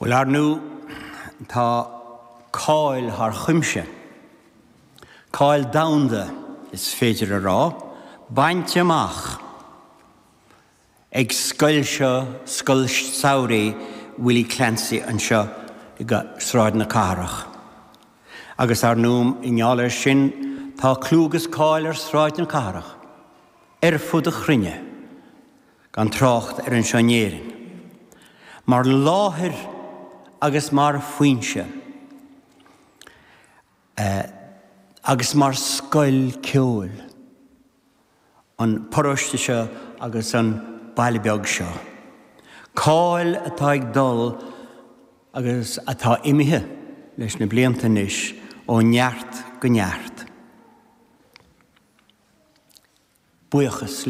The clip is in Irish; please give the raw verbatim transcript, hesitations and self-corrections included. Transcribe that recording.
Bhuel, ar ndóigh, tá cáil thar cuimse. Cáil domhanda, is féidir a rá, bainte amach ag scoil seo, Scoil Samhraidh Willie Clancy anseo i Sráid na Cathrach. Agus ar ndóigh, i ngeall air sin, tá clú agus cáil ar Sráid na Cathrach, ar fud an chruinne, gan trácht ar anseo in Éirinn. Mar láthair agus mar foinse, agus mar scoil ceoil, an paróiste seo agus an baile beag seo. Cáil atá ag dul agus atá imithe leis na blianta anois ó neart go neart. Buíochas